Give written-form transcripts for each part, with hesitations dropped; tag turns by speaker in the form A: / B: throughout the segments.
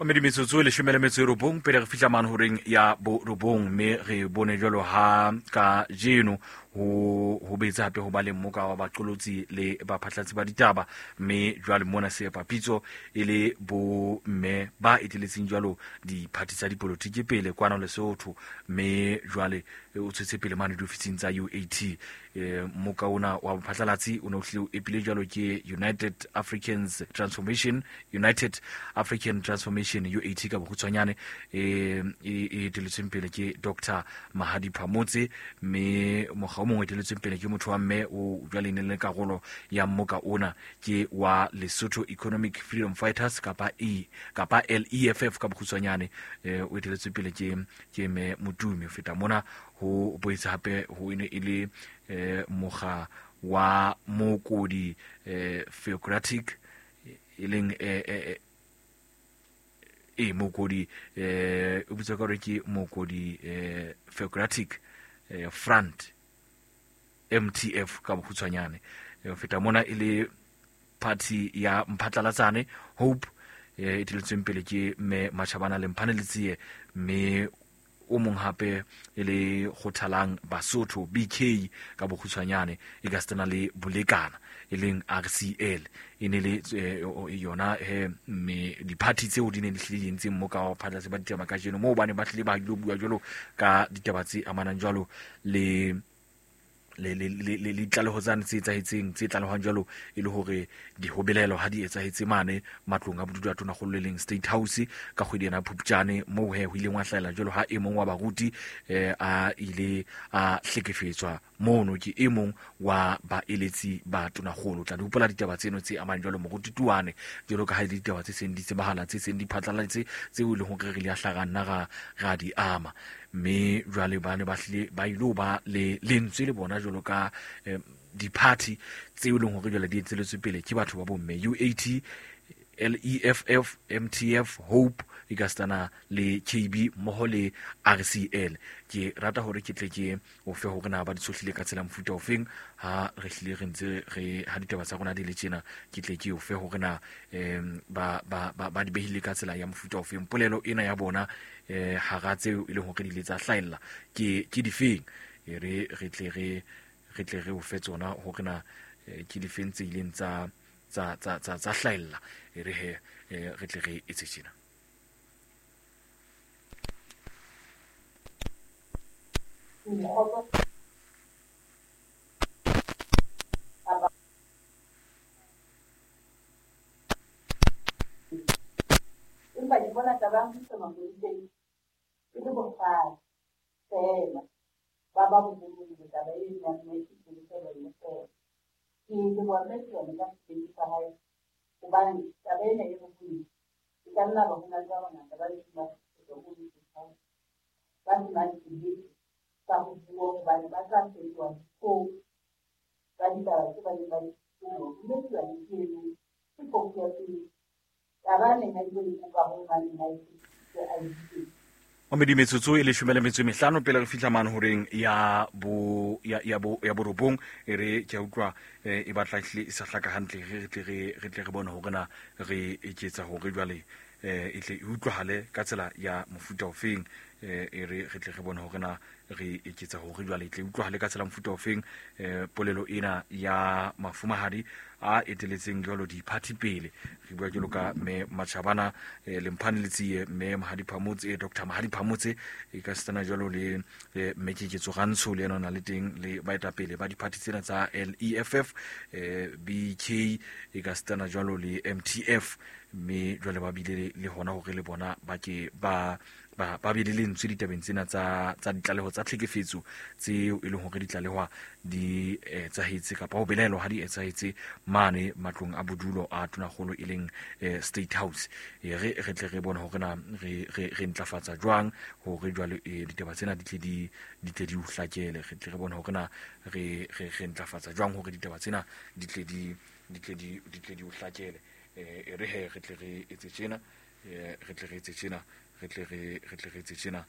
A: Mme metsotso e 19 pele re fihla mane horeng ya borobong, mme re bone jwalo ha ka jeno ho betse hape ho ba le mmoka wa baqolotsi le baphatlatsi ba ditaba, mme jwale mona seepapitso e le bo mme ba eteletseng jwalo diphathi tsa dipolotiki pele kwana Lesotho, mme jwale o tshwetse pele mane diofising tsa UAT. Mmoka ona wa bophatlalatsi o ne o hlile o epile jwalo ke United Africans Transformation, United African Transformation UAT ka bokgutshwanyane, e eteletsweng pele ke Dr. Mahadi Phamotse, mme mokga o mongwe eteletsweng pele ke motho wa mme o jwale ne le karolo ya mmoka ona ke wa Lesotho Economic Freedom Fighters kapa E kapa LEFF ka bokgutshwanyane, o eteletsweng pele ke mme Motumi. Ho feta mona ho boetse hape ho ene e le mokga wa Mokodi Theocratic e leng Mokodi o bitswa ka hore ke Mokodi Theocratic Front MTF ka bokgutshwanyane. Ho feta mona e le party ya Mphatlalatsane Hope e eteletsweng pele ke mme Matjhabana le Mphane Letsie, mme o mong hape e le Kgothalang Basotho BK ka bokgutshwanyane, e ka setana le Bolekana e leng RCL. E ne le yona mme diphathi tseo di ne di hlile di entseng mo ka phatlatse ba ditaba kajeno, moo ba ne ba hlile ba ilo bua jwalo ka ditaba tse amanang jwalo le ditlaleho tsane tse etsahetseng, tse tlalehwang jwalo e le hore dihobelelo ha di etsahetse mane matlong a bodulo a tonakgolo le leng State House ka kgwedi ena Phupjane, moo he ho ileng wa hlahela jwalo ha e mong wa baruti a ile a hlekefetswa mono ke e mong wa baeletsi ba tonakgolo. Tla di hopola ditaba tseno tse amang jwalo moruti Tuane, jwalo ka ha e le ditaba tse seng di tsebahala, tse seng di phatlaladitse, tseo e leng hore re le a hlaha nna ra di ama. Mme jwale ba ne ba hlile ba ilo ba le lentswe le bona jwalo ka diphathi tseo e leng hore jwale di etseletswe pele ke batho ba bomme UAT, LEFF, MTF, Hope, e ka setana le KB mmoho le RCL. Ke rata hore ke tle ke o fe hore na ba di tshohlile ka tsela mofuta ofeng ha re hlile re ntse re ha ditaba tsa rona di le tjena, ke tle ke o fe hore na ba di behile ka tsela ya mofuta ofeng. Polelo ena ya bona hara tseo e leng hore di ile tsa hlahella ke difeng, e re re tle re o fe tsona hore na ke difeng tse ileng tsa hlahella, e re he re tle re etse tjena.
B: Empa ke bona taba ya ho isa mapoleseng e le bohlale feela, ba ba boholong taba e nang le sepolesa ba e feela. Ke leboha mme Tuane ka sebete sa hae, hobane taba ena e bohloko. E ka nna ba ho na le ba bangata ba ntseng ba hlekefetswa ko State ba senang sebete sa ho bua, hobane ba tla fetoha dihlong tsa ditaba tse ba neng ba di bua. Mme Tuane ke eno ke phofu ya pele. Taba a neng a ile ho kopa ho mang neng a e tshepisitse a e bile.
A: Mme metsotso e 15 pele re fihla mane horeng ya borobong, e re ke a utlwa e batla ehlile e sa hlaka hantle, re tle re bone hore na re eketsa hore jwale e tle e utlwahale ka tsela ya mofuta ofeng, e re re tle re bone hore na re eketsa hore jwale e tle e utlwahale ka tsela mofuta ofeng. Polelo ena ya mafumahadi a eteletseng jwalo diphathi pele, re bua jwalo ka mme Matjhabana Lemphane Letsie, mme Mahadi Phamotse, Dr. Mahadi Phamotse, e ka setana jwalo le mme Keketso Rantsho le yena o na le teng, le baetapele ba diphathi tsena tsa LEFF, BK, e ka setana jwalo le MTF, mme jwale ba bile le hona hore le bona ba ke ba be le lentswe ditabeng tsena tsa ditlaleho tsa tlhekefetso tseo e leng hore ditlalehwa di etsahetse kapa ho belaelwa ha di etsahetse mane matlong a bodulo a tonakgolo e leng State House. E re re tle re bone hore na re ntlafatsa jwang hore jwale ditaba tsena di tle di o hlakele. Re tle re bone hore na re ntlafatsa jwang hore ditaba tsena di tle di o hlakele. E re he re tle re etse tjena, re tle re etse tjena, re tle re etse tjena,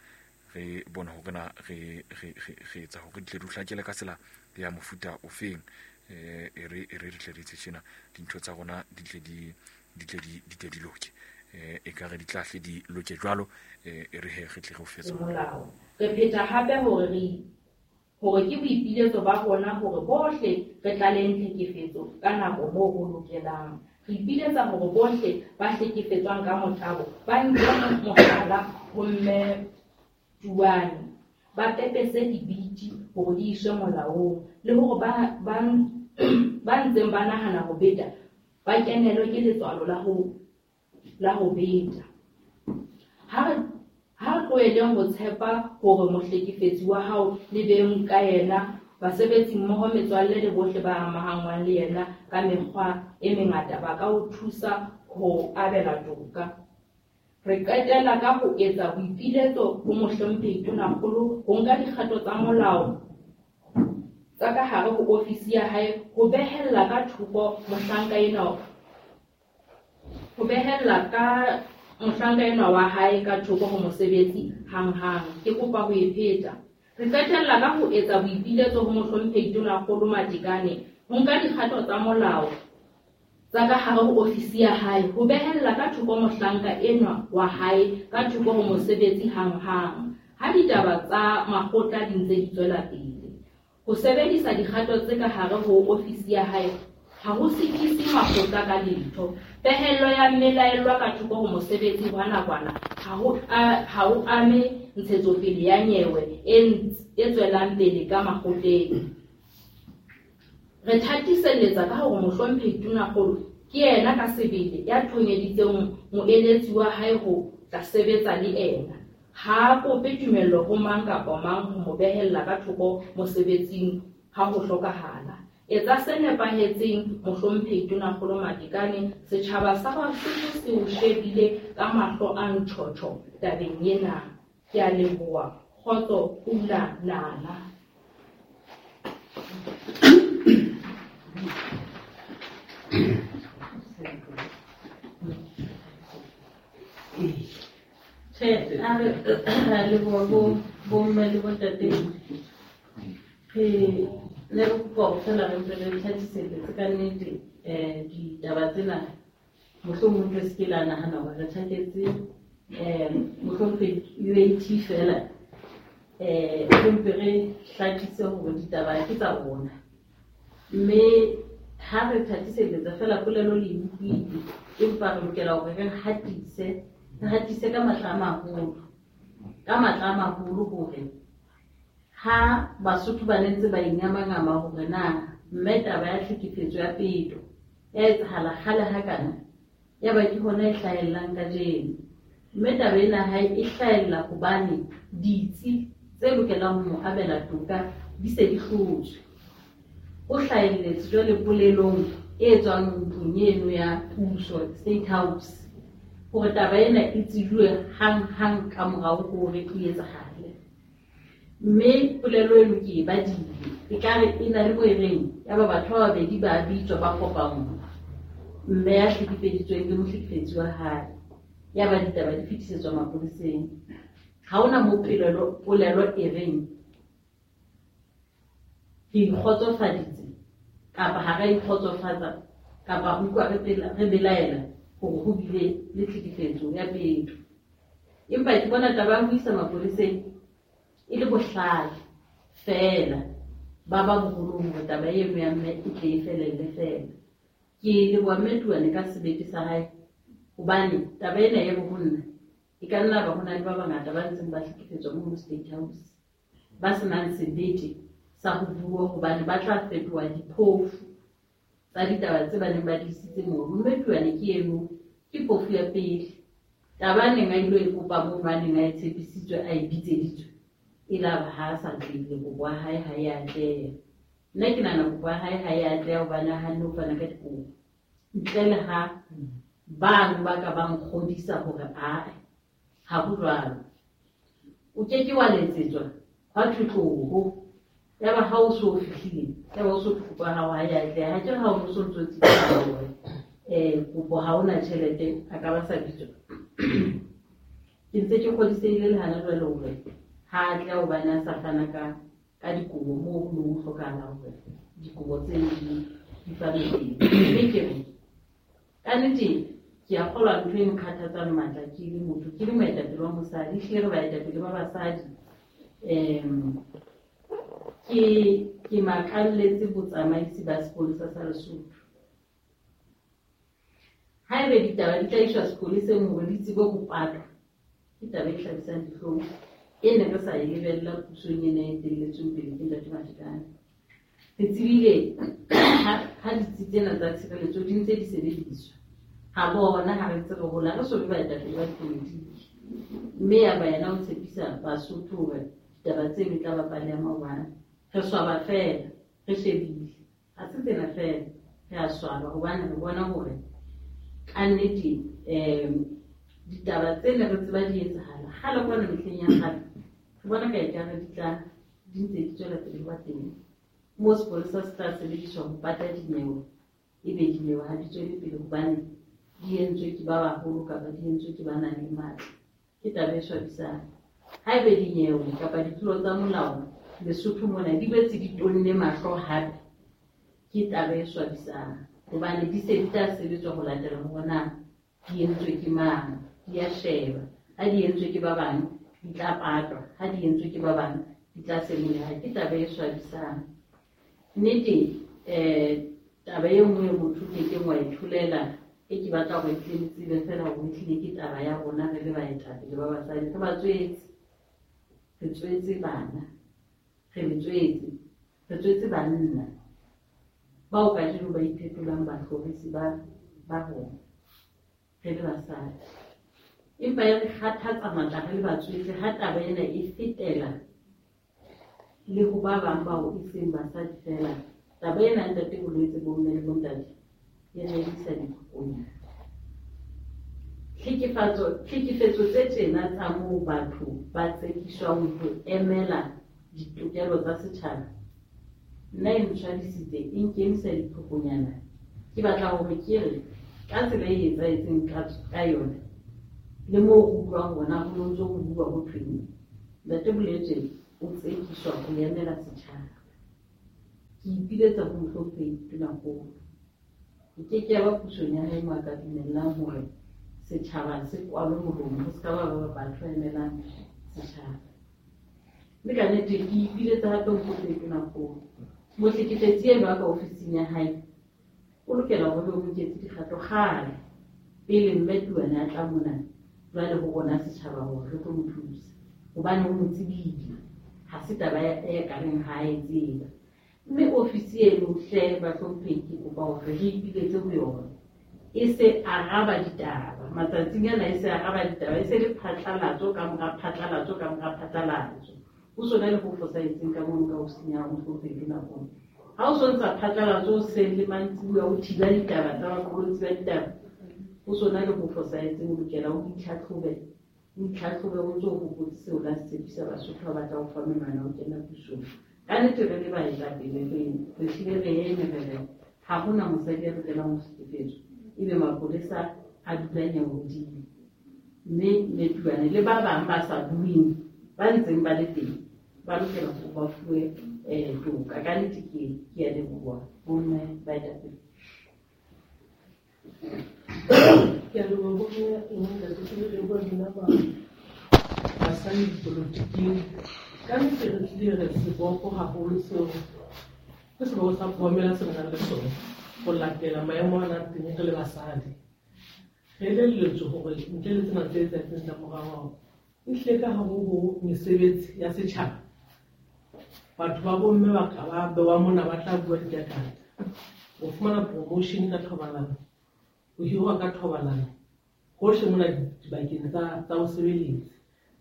A: re bone hore na re etsa hore di tle di o hlakele ka tsela ya mofuta ofeng. E re re tle re etse tjena, dintho tsa rona di tle di loke. E ka re di tlahle di loke jwalo, e re he re tle re o fetse.
B: Molao. Re pheta hape hore ke boipiletso ba rona hore bohle re tlaleng tlhekefetso ka nako moo ho lokelang. Re ipiletsa hore bohle ba hlekefetswang ka motabo ba nke mohlala ho Mme Tuane, ba pepese dibiti hore di iswe molaong, le hore ba ntseng ba nahana ho beta ba kenelwe ke letswalo la ho beta. Ha re tloheleng ho tshepa hore mohlekefetsi wa hao le beng ka yena, basebetsi mmoho, metswalle le bohle ba amahanngwang le yena ka mekgwa e mengata ba ka o thusa ho abela toka. Re qetela ka ho etsa boipiletso ho Mohlomphehi Tonakgolo ho nka dikgato tsa molao tsa ka hare ho ofisi ya hae ho behella ka thoko mohlanka enwa, ho behella ka mohlanka enwa wa hae ka thoko ho mosebetsi hanghang. Ke kopa ho e pheta. Re qetella ka ho etsa boipiletso ho Mohlomphehi Tonakgolo Matekane ho nka dikgato tsa molao tsa ka hare ho ofisi ya hae ho behella ka thoko mohlanka enwa wa hae ka thoko ho mosebetsi hanghang ha ditaba tsa makgotla di ntse di tswela pele. Ho sebedisa dikgato tse ka hare ho ofisi ya hae ha ho sitise makgotla ka letho. Pehello ya mmelaellwa ka thoko ho mosebetsi wa nakwana ha ho ame ntshetsopele ya nyewe e tswelang pele ka makgotleng. Re thatiselletsa ka hore Mohlomphehi Tonakgolo ke yena ka sebele ya thonyeditseng moeletsi wa hae ho tla sebetsa le ena. Ha a kope tumello ho mang kapa mang ho mo behella ka thoko mosebetsing ha ho hlokahala. Etsa se nepahetseng Mohlomphehi Tonakgolo Matekane, setjhaba sa Basotho se o shebile ka mahlo a ntjhotjho tabeng ena. Ke a leboha. Kgotso, pula, nala.
C: Tjhe, a re ra leboha bo mme le bontate. Re ne re kopa hore feela re mpe re thathiselletse ka nnete ditaba tsena. Mohlomong re se ke la nahana hore re tjhaketse mohlomphehi UAT feela. Re mpe re hlakise hore ditaba ke tsa rona. Mme ha re thatiselletsa feela polelo le e utlwile, empa re lokela hore re hatise, re hatise ka matla a maholo, ka matla a maholo hore ha Basotho ba ne ntse ba ingamangama hore na mme taba ya tlhekefetso ya peto ya etsahala kgale hakana, ya ba ke hona e hlahellang kajeno. Mme taba ena ha e hlahella hobane ditsi tse lokelang ho mo abela toka di se di hlotswe. O hlahelletse jwale polelong e tswang ntlong eno ya puso, State House, hore taba ena e tsejuwe hang-hang ka morao hore e etsahale. Mme polelo eno ke e badile, ekare e na le mo e reng, ya ba batho ba babedi ba bitswa ba kopanngwa, mme ya hlekefeditsweng le mohlekefetsi wa hae, ya ba ditaba di fetisetswa mapoleseng. Ha hona mo polelo e reng re ikgotsofaditse kapa ha ra ikgotsofatsa kapa re utlwa re belaela hore ho bile le tlhekefetso ya peto. Empa ke bona taba ya ho isa mapoleseng e le bohlale feela ba ba boholong hore taba eno ya mme e tle e felelle feela. Ke leboha mme Tuane ka sebete sa hae, hobane taba ena e bo ho nna e ka nna ba ho na le ba bangata ba ntseng ba hlekefetswa mono State House, ba senang sebete sa ho bua hobane ba tla fetoha diphofu tsa ditaba tse ba neng ba di isitse mono. Mme Tuane ke eno, ke phofu ya pele. Taba a neng a ilo e kopa mono, a neng a e tshepisitswe, a e bitseditswe, e la ba ha a sa tlile, kopo ya hae ha e atleha. Nna ke nahana kopo ya hae ha e atleha hobane a hanne ho fana ka dikopo. Ntle le ha bang ba ka ba nkgodisa hore ae, ha ho jwalo. O ke ke wa letsetswa hwa thwe tloho, ya ba ha o so fihlile, ya ba o so thwe kopo ya hao ha e atleha. Ha ke re ha o so ntso tsebisa hore, kopo ha ona tjhelete, a ka ba sa bitswa. Ke ntse ke kgodisehile le hana jwale hore ha a tla hobane a sa fana ka dikobo moo ho neng ho hlokahala hore dikobo tseno di fanwe teng. Mme ke re, ka nnete Ke a kgolwa ntho e nkgathatsang matla ke le motho, ke le moetapele wa mosadi, ehlile re baetapele ba basadi. Ke makalletse botsamaisi ba sepolesa sa Lesotho. Haebe ditaba di tla iswa sepoleseng hore di tsebe ho patwa, ke taba e hlabisang dihlong e ne re sa e lebella pusong ena e etelletsweng pele ke Ntate Matekane. Re tsebile ha ditsi tsena tsa tshireletso di ntse di sebediswa, ha bona ha re ntse re hola re so be baetapele ba dipolotiki, mme ya ba yena o tshepisa Basotho hore ditaba tseno e tla ba pale ya maobane. Re swaba fela, re shebile, ha se tsena fela, re a swaba hobane re bona hore ka nnete ditaba tsene re tseba di etsahala kgale kwana mehleng ya kgale, re bona ka ekare di tla di ntse di tswela pele ho ba teng. Moo sepolesa se tla sebediswa ho pata dinyewe, ebe dinyewe ha di tswele pele hobane di entswe ke ba baholo kapa di entswe ke ba nang le matla. Ke taba e swabisang. Haebe dinyewe kapa ditlolo tsa molao Lesotho mona di boetse di tonne mahlo hape, ke taba e swabisang hobane di se di tla sebetswa ho latela hore na di entswe ke mang, di a sheba. Ha di entswe ke ba bang di tla patwa, ha di entswe ke ba bang di tla senoleha. Ke taba e swabisang. Nnete, taba e nngwe motho ke keng wa e tholela, e ke batla hore ke le tsebe fela hore ehlile ke taba ya rona re le baetapele ba basadi. Re ba tswetse, re tswetse bana, re le tswetse, re tswetse banna bao kajeno ba iphetolang bahlorisi ba rona re le basadi. Empa e re kgathatsa matla re le batswetse ha taba ena e fetela le ho ba bang bao e seng basadi fela. Taba ena ntate bolwetse bo mme le bontate e re emisa dikokonyana. Tlhekefetso tse tjena tsa moo batho ba tsekiswang ho emela ditokelo tsa setjhaba, nna e ntshwadisitse, e nkemisa dikokonyana. Ke batla hore ke re ka tsela e etsahetseng ka yona, le moo ho utlwang hona ho no ntso ho bua ho thweng, Ntate Boletswe o tsekiswa ho emela setjhaba. Ke ipiletsa ho mohlomphehi Tonakgolo. E ke ke ya ba pusong ya hae moo a ka dumellang hore setjhaba se kwalwe molomo, ho se ka ba ba batho ba emelang setjhaba. Mme ka nnete ke ipiletsa hape ho mohlomphehi Tonakgolo. Mohlekefetsi enwa ka ofising ya hae o lokela hore o nketse dikgato kgale pele mme Tuane a tla mona jwale ho rona setjhaba hore re tlo mo thusa, hobane o mo tsebile, ha se taba e ka reng ha a e tseba. Mme ofisi eno hle bahlomphehi ke kopa hore re ipiletse ho yona, e se araba ditaba matsatsing ana, e se araba ditaba, e se le phatlalatso ka mora phatlalatso ka mora phatlalatso. Ho sona le ho fosahetseng ka mono ka ofising ya mohlomphehi Tonakgolo. Ha o so ntsa phatlalatso o seng le mantsibuya o thiba ditaba tsa baqolotsi ba ditaba, ho sona le ho fosahetseng. O lokela o itlhatlhobe, o itlhatlhobe o ntso o hopotse seo la se tshepisa Basotho ba batla ho fa menwana o kena pusong. Ka nnete re le baetapele re hlile re eme re re ha hona mosadi ya lokelang ho hlekefetswa, ebe mapolesa a dula nyewe hodimo. Mme Metuane le ba bang ba sa bueng ba ntseng ba le teng ba lokela hore ba fuwe toka. Ka nnete ke a leboha bomme baetapele.
D: Ke a leboha bomme le bontate, ke le leboha lona ba basadi dipolotiking. Ka nnete re tlile re seboko haholo seo ke seboko sa phohomela se re nang le sona ho latela maemo a nang teng re le basadi. Re elelletswe hore ntle le tsena tse etsahetseng tsa morao, ehlile ka hare ho mesebetsi ya setjhaba, batho ba bomme ba ka ba bewa mona ba tla bua dikakata. O fumana promotion ka thobalano, o hirwa ka thobalano, hohle mona dibakeng tsa ho sebeletsa.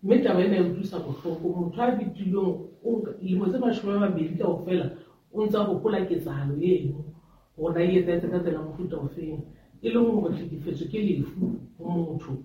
D: Mme taba ena e utlwisa bohloko. Motho a betilweng dilemo tse 20 kaofela o ntsa hopola ketsahalo eno hore na e etsahetse ka tsela mofuta ofeng, e leng hore tlhekefetso ke lefu ho motho.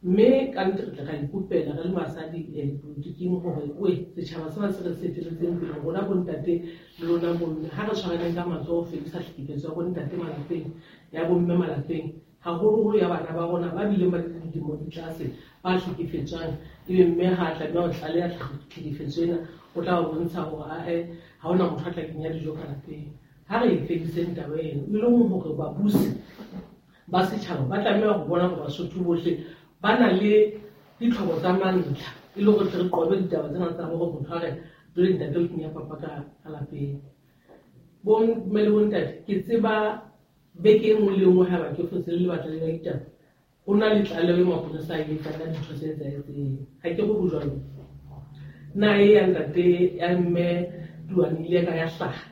D: Mme ka nnete re tla ra ikopela re le basadi dipolotiking hore oe setjhaba sena se re se eteletseng pele, rona bontate le lona bomme, ha re tshwaraneng ka matsoho ho fedisa tlhekefetso ya bontate malapeng, ya bomme malapeng, haholoholo ya bana ba rona ba bileng ba le dilemo di tlase ba hlekefetswang. Ebe mme ha a tlameha ho tlaleha tlhekefetso ena, o tla ba bontsha hore ae ha hona motho a tla kenya dijo ka lapeng. Ha re e fediseng taba eno, e leng hore babusi ba setjhaba ba tlameha ho bona hore Basotho bohle ba na le ditlhoko tsa mantlha e le hore tle re qobe ditaba tsena tsa hore motho a re jwale ntate o kenya papa ka lapeng. Bo mme le bontate, ke tseba beke e nngwe le nngwe haeba ke fotse le lebaka le la ditaba, ho na le tlaleho e mapolesa a e etsang ka dintho tse etsahetseng. Ha ke re ho jwalo. Na e ya ntate ya mme Tuane ile ka ya hlaha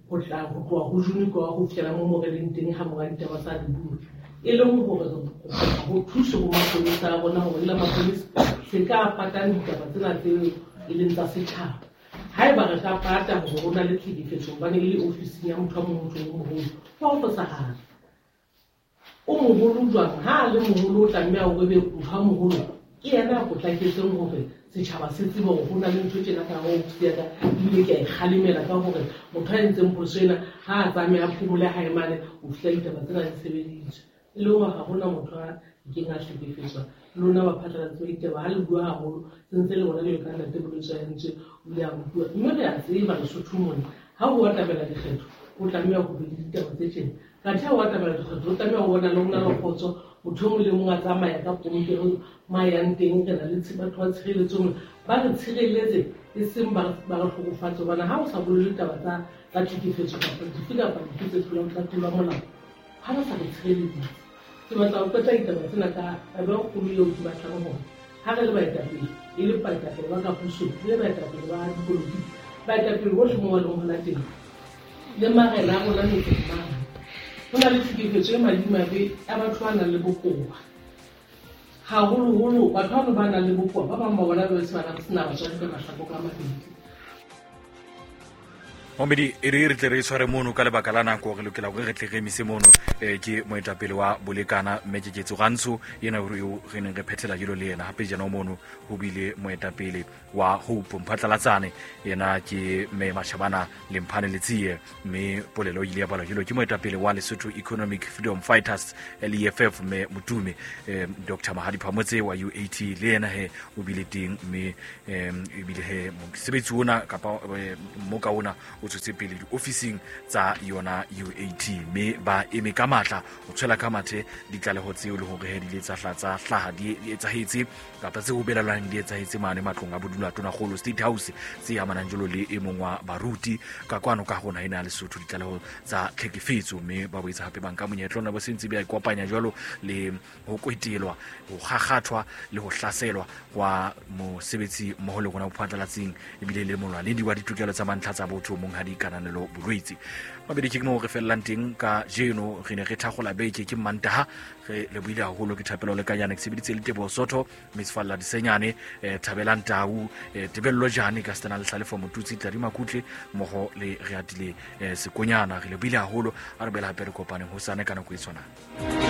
D: ho tla ho tloha ho June kwa ho fihlela mo mo re leng teng ha monga ditaba tsa di bua. E leng hore re kopa ho thuso ho mapolesa a rona hore le mapolesa se ka patang ditaba tsena tseo e leng tsa setjhaba. Haeba re ka pata hore ho na le tlhekefetso hobane e le ofising ya motho a mong motho o moholo, ho a fosahala. O moholo jwang? Ha a le moholo o tlameha hore ebe motho a moholo ke yena a potlaketseng hore setjhaba se tsebe hore ho na le ntho tjena ka hare ho ofisi ya ka, ebile ke a e kgalemela ka hore motho a entseng phoso ena ha a tsamaye a phomole hae mane ho fihla ditaba tsena di sebeditswe. E le hore ha hona motho a keng a hlekefetswa. Le lona baphatlalatsi ba ditaba ha le bua haholo se ntse le bona jwalo ka ntate Bolwetse a entswe o ile a bua. Mme re a tseba Lesotho mona ha ho atamela dikgetho ho tlameha ho be le ditaba tse tjena. Kathe ha ho atamela dikgetho ho tlameha ho bona le ho na le kgotso, motho e mong le mong a tsamaya ka polokego mo a yang teng. Re na le batho ba tshireletso mona ba re tshireletse e seng ba re hlokofatse, hobane ha o sa bolele taba tsa tlhekefetso kapa dife kapa dife tse tlolang tsa tlolo ya molao, ha ba sa re tshireleditse. Ke batla ho qeta ditaba tsena ka taba e kgolo eo ke batlang hore ha re le baetapele, e le baetapele ba ka pusong, e le baetapele ba dipolotiki, baetapele bohle mo ba leng hona teng, le marena a rona metseng mane, ho na le tlhekefetso e madimabe ya batho ba nang le bokowa. Haholoholo batho bano ba nang le bokowa, ba bang ba bona ba se ba sena batswadi ka mahlakore a mabedi.
A: Momedi, e re re tle re tshware mono ka lebaka la nako, re lokela hore re tle re emise mono. Ke moetapele wa Bolekana mme Keketso Rantsho yena eo re neng re phethela jelo le yena. Hape jena mono ho bile moetapele wa Hope Mphatlalatsane, yena ke mme Mashabana Lemphane Letsie, mme polelo e ile ya balwa jelo ke moetapele wa Lesotho Economic Freedom Fighters LEFF mme Motume, Dr. Mahadi Phamotse wa UAT le yena he o bile teng, mme ebile he mosebetsi ona kapa mmoka ona o tswetse pele diofising tsa yona UAT, mme ba eme ka matla ho tshwela ka mathe ditlaleho tseo le hore he di ile tsa hlaha di etsahetse kapa tse ho belaelwang di etsahetse mane matlong a bodula Tonakgolo State House tse amanang jalo le e mong wa baruti ka kwano ka rona ena Lesotho, ditlaleho tsa tlhekefetso, mme ba boetse hape ba nka monyetla ona bo sentse ba ikopanya jalo le ho kwetelwa, ho kgakgathwa le ho hlaselwa wa mosebetsi mmoho le rona bophatlalatsing, ebile le molwanedi wa ditokelo tsa mantlha tsa botho monghadi Kananelo Bolwetse. Mabedi ke moo re fellang teng ka jeno, re ne re thakgola beke ke Mantaha, re lebohile haholo ke Thapelo Lekanyane, ke sebeditse le Teboho Sotho, Miss Falla Disenyane, Thabelang Tau, Tebello Jane ka Stena Lehlale for Motutsi, Tladi Makutle mmoho le Reatile Sekonyana. Re lebohile haholo, a re boela hape re kopaneng hosane ka nako e tshwanang.